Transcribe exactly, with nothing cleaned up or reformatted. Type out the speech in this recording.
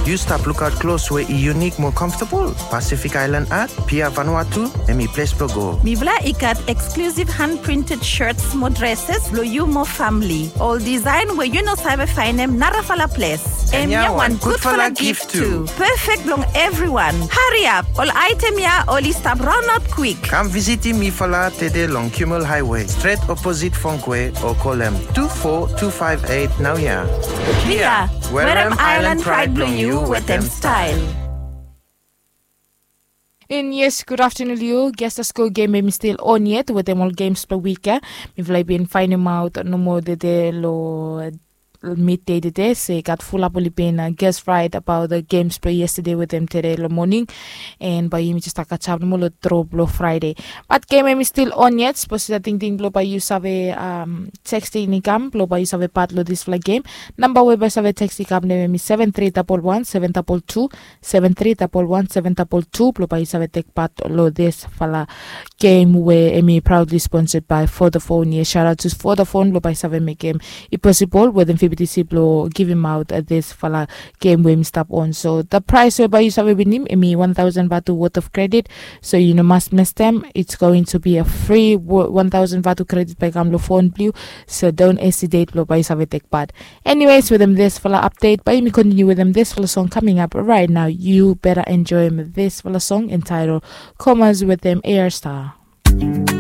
Yu stap lukaot klos we i yunik mo comfortable? Pacific Island Art, Pia Vanuatu, hemi ples blo go. Mifala i gat exclusive hand printed shirts mo dresses blo yu mo famili. Ol design we yu no save faenem narafala ples. Hemia wan gudfala gift tu. Perfect blong everyone. Hariap, ol item ya oli stap raonaot kwik. Kam visitim mifala tede long Kimmel Highway, stret oposit Fongkwe, o kolem tu fo tu faef eit naoia. Pia, werem Island Pride blong yu wetem style. And yes, gud aftenun long yu. Gestas Go gem hemi stil on yet wetem ol gems blong wik ya. Mifala i bin faenemaot nomo tede long midei tede se i gat fulap oli bin ges raet abaot gems blong yestede wetem tede long moning. And bae yumi jes stap kasap nomo long dro blong Fraede. Bat gem hemi stil on yet. Sapos yu gat tingting blong bae yu save teksting i kam blong bae yu save pat long disfala gem, namba we bae yu save teksting i kam long hem hemi seven three double one seven double two, seven three double one seven double two, blong bae yu save tek pat long disfala gem we hemi proudly sponsored by Vodafone. Yes, shout out to Vodafone blong bae yu save mekem i posibol wetem V B T C blong givimaot disfala gem we hemi stap on. So the price we bae yu save winim hemi one thousand vatu worth of credit. So yu no mas mestem. It's going to be a free one thousand vatu credit bae i kam long fon blong yu. So don't hesitate blong bae yu save tek pat. Anyways, wetem disfala update bae yumi kontiniu wetem disfala song coming up right now. You better enjoy disfala song entitled Comas wetem A R Star.